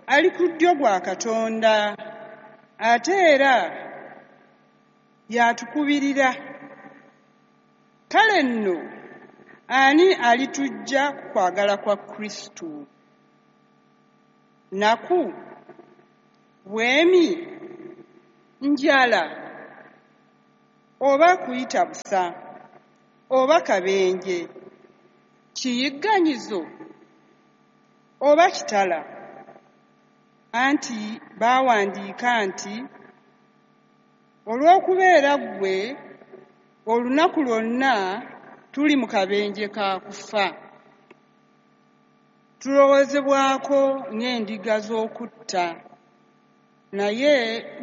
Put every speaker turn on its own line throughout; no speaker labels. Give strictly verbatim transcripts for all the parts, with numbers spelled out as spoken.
ali ku ddyo gwa Katonda, ate era y'atukubirira. Kale nno ani alituggya ku kwagala kwa Kristo? Nnaku, bwemi, njala, oba kuyita busa, oba kabenje, kiyigganyizo, oba kitala? Anti baawandiika nti, Olw'okubeera ggwe, olunaku lwonna tuli mu kabenje ka kufa. Tulowoozebwako ng'endiga z'okutta. Naye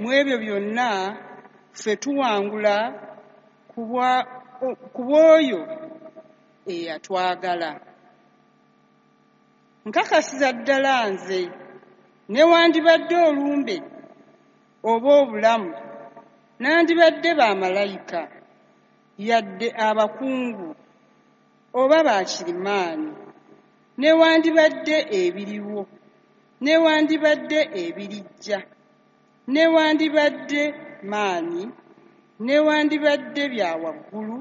mu ebyo byonna ffe tuwangula ku bw'oyo eyatwagala. Nkakasiza ddala nze, newandibadde olumbe oba obulamu, nandibadde bamalayika, yadde abakungu oba bakirimaanyi, newandibadde ebiriwo, newandibadde ebirijja, newandibadde maanyi, newandibadde bya waggulu,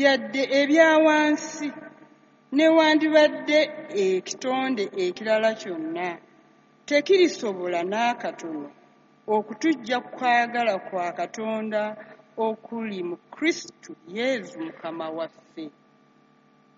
yadde ebya wansi, newandibadde ekitonde ekirala kyonna, tekirisobola n'akatono okutuggya ku kwagala kwa Katonda okuli mu Kristo Yesu Mukama waffe.